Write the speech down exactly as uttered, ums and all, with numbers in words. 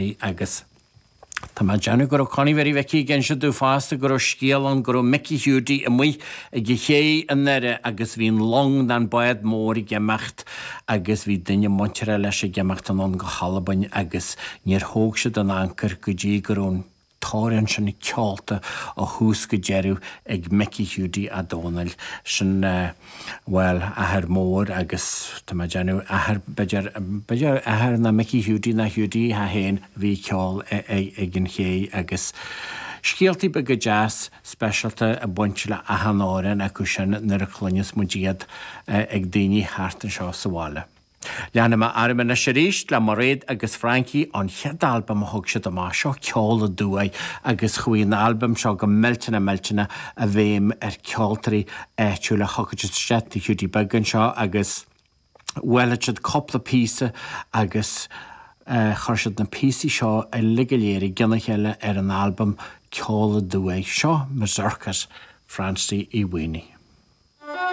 Agus tá mé ag déanamh go raibh Connie Mhary Mhicí ag inse domh fosta go raibh scéal ann go raibh Mickey Hiúdaí amuigh ag an ché i nDoire agus bhí an long nó an bád mór ag imeacht agus bhí duine muinteartha leis ag imeacht anonn go hAlbain agus níor thóg siad an ancair go dtí go raibh an t-amhrán sin ceolta ó thús go deireadh ag Mickey Hiúdaí a' Dónaill. Sin, bhuel, athair mór agus tá mé ag déanamh athair, b'fhéidir, b'fhéidir athair ná Mickey Hiúdaí ná Hiúdaí é féin a bhí ag ceol ag an ché agus scéaltaí beaga deas speisialta ag baint le achan amhrán acu sin nuair a chluineas muid iad ag daoine thart anseo sa bhaile. Leanfaidh mé orm anois arís le Mairéad agus Frankie, an chéad albam a thug siad amach, seo Ceol Aduaidh agus chuaigh an albam seo go millteanach millteanach i bhfeidhm ar ceoltóirí áitiúla. Thiocfadh siad isteach tigh Hiúdaí Beag anseo agus bhailigh siad cúpla píosa agus chuir siad na píosaí seo uilig go léir i gcionn a chéile ar an albam Ceol Aduaidh. Seo Mazurkas Francie Uí Mhaonaigh.